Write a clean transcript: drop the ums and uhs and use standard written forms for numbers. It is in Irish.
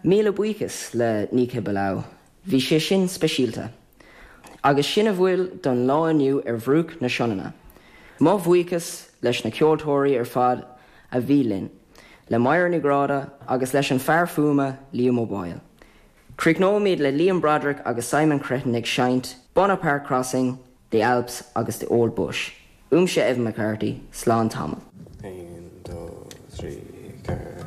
Míle buíochas le Nika Belau, bhí sé sin speisialta. Agus sin a bhfuil don lá inniu ar Bhruach na Sionainne. Mo bhuíochas leis na ceoltóirí ar fad a bhí linn, le Máire Ní Ghráda agus leis an fear fuaime Liam Ó Baoill. Críochnóimid le Liam Broderick agus Simon Cretton ag seinnt Bonaparte Crossing, The Alps agus The Old Bush. Uaimse Evan McCarthy, slán tamall. 1, 2, 3, 4.